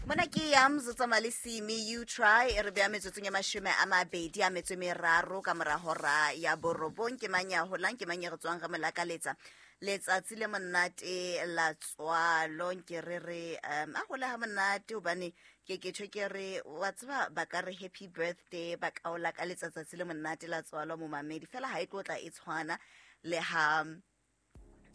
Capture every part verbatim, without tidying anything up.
Mona ke ya Mzotsa Malesimi, You Try, e re beha metsotsong ya mashome a mabedi a metso e meraro ka mora hora ya borobong. Ke mang ya holang, ke mang ya re tswang re mo lakaletsa letsatsi le monate la tswalo. Nke re re um a hola ha monate, hobane ke ke tjho ke re wa tseba ba ka re happy birthday, ba ka o lakaletsa tsatsi le monate la tswalo momamedi, fela ha e tlo tla e tshwana le ha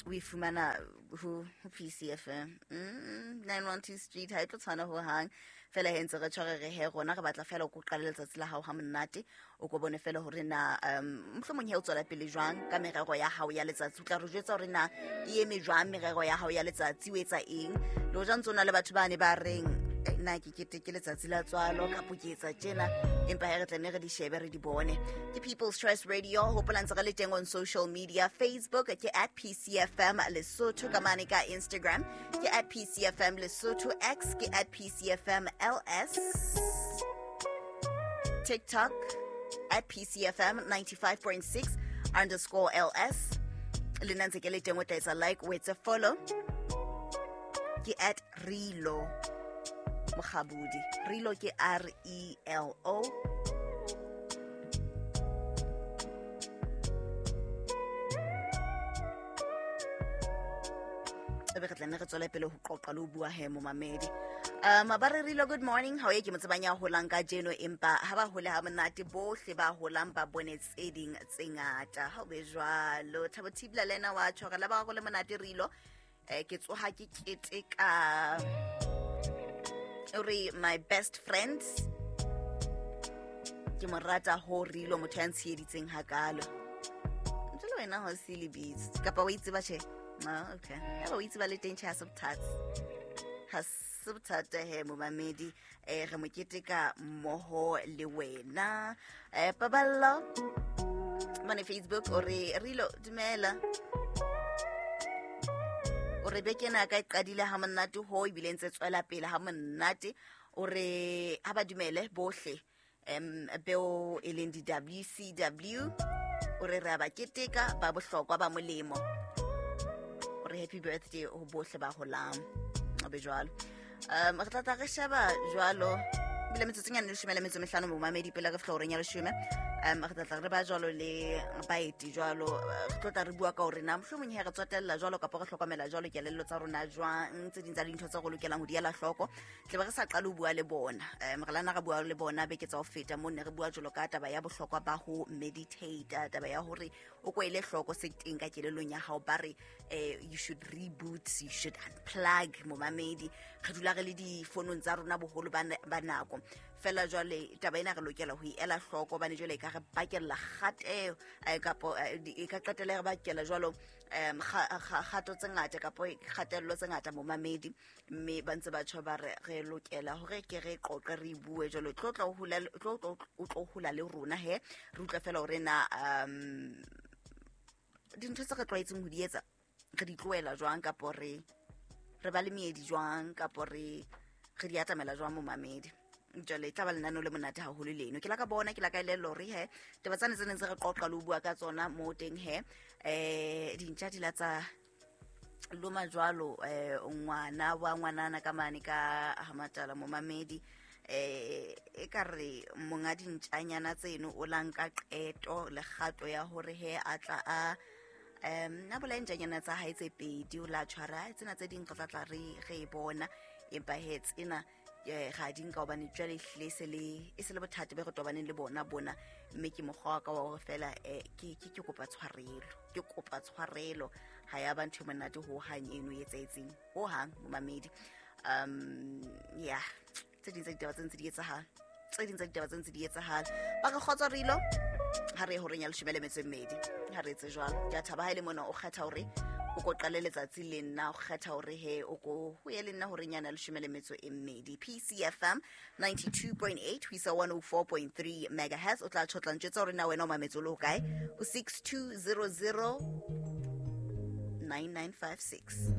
o e fumana ho P C F M mm, nine one two Street, ha e tlo tshwana ho hang. Fela he ntse re tshware re he rona re batla fela o ko qale letsatsi la hao ha monate, o ko bone fela hore na um mohlomong he o tswela pele jwang ka merero ya hao ya letsatsi. O tla re jwetsa hore na e eme jwang merero ya hao ya letsatsi, o etsa eng. Le hoja ntse o na le batho ba ne ba reng na ke keteke letsatsi la tswalo kapo ke etsa tjena, empa he re tla nne re di shebe re di bone. Ke People's Choice Radio, hopola ntse re le teng on social media, Facebook ke at P C F M Lesotho, ka mane ka Instagram ke at P C F M Lesotho, X ke at P C F M L S, TikTok at P C F M ninety-five point six underscore L S. Le nna ntse ke le teng, o tla etsa like, o etse follow, ke at Relo Mokgabudi. Relo ke R E L O. Ebe re tla nne re tswele pele ho qoqa le ho bua he momamedi. Um ba re Relo, good morning. Ha o ye ke motsebang ya holang ka jeno, empa ha ba hole ha monate, bohle ba holang ba bone tse ding tse ngata. Ha o be jwalo. Thabo Thibla le yena wa tjho re la ba go le monate Relo. Eh ke tsoha ke keteka re my best friends, ke mo rata ho Relo, motho ya ntsheheditseng hakalo. Ntse le wena ho se lebitse kapa o itseba tjhe? Ah, okay. Ya ba o itseba le teng tjhe, ha se bothata. Ha se bothata he momamedi, eh re mo keteka mmoho le wena. Eh Paballo mane Facebook o re Relo dumela. O re beke ena ka e qadile ha monate ho ebile ntse tswela pele ha monate. O re ha ba dumele bohle em beo e leng di W C W, o re re a ba keteka, ba bohlokwa ba molemo. O re happy birthday ho bohle ba holang. O be jwalo. Um re tla tla re sheba jwalo ebile metsotsong ya leshome le metso e mehlano momamedi pele re fihla horeng ya leshome. Um re tla tla re ba jwalo le baeti jwalo, re tlo tla re bua ka hore na mohlomong he re tsotella jwalo kapa re hlokomela jwalo kelello tsa rona jwang, tse ding tsa dintho tse re lokelang ho di ela hloko. Tle be re sa qale ho bua le bona. Um re lana re bua le bona beke tsa ho feta mo ne re bua jwalo ka taba ya bohlokwa ba ho meditate, taba ya hore o ko ele hloko se teng ka kelellong ya hao. Ba re eh you should reboot, you should unplug momamedi. Re dula re le difonong tsa rona boholo ba ba nako. Fela jwale taba ena re lokela ho e ela hloko, hobane jwale e ka re bakella kgateho kapo e ka qetella re bakela jwalo um kgato tse ngata kapo kgatello tse ngata momamedi. Mme ba ntse ba tjho ba re re lokela hore ke re qoqe re bue jwalo, tlo tlo hula tlo tlo o tlo hula le rona he re utlwa fela hore na um dintho tse re tlwaetseng ho di etsa re di tlohela jwang, kapo re re ba le meedi jwang, kapo re re di atamela jwang momamedi. Jwale e tla ba lenaneo le monate haholo leno. Ke la ka bona, ke la ka elellwa hore he taba tsane tse neng tse re qoqa le ho bua ka tsona mo teng he eh dintja di la tsa loma jwalo eh ngwana wa ngwanana ka mane ka Hamatala momamedi. Eh e ka re monga dintjanyana tseno o la nka qeto le kgato ya hore he a tla a um na bola ntjanyana tsa hae tse pedi, o la tshwara tsena tse ding re tla tla re re e bona, empa he tsena ga di nka hobane jwale ehlile se le e se le bothata be re tobaneng le bona bona. Mme ke mokgwa wa ka wa hore fela eh ke ke ke kopa tshwarelo, ke kopa tshwarelo. Ha ya ba ntho e monate ho hang eno e etsahetseng ho hang momamedi. Um ya tse ding tsa ditaba tse ntse di etsahala, tse ding tsa ditaba tse ntse di etsahala. Ba re kgotso Relo, ha re horeng ya leshome le metso e mmedi, ha re etse jwalo. Ke a thaba ha e le mona o kgetha hore o ko qale letsatsi le nna, o kgetha hore he o ko ho ye le nna horeng yana leshome le metso e mmedi. P C F M ninety-two point eight ho isa one oh four point three megahertz. O tla tjhotla ntjwetsa hore na wena o mametse o le hokae ho six two zero zero nine nine five six.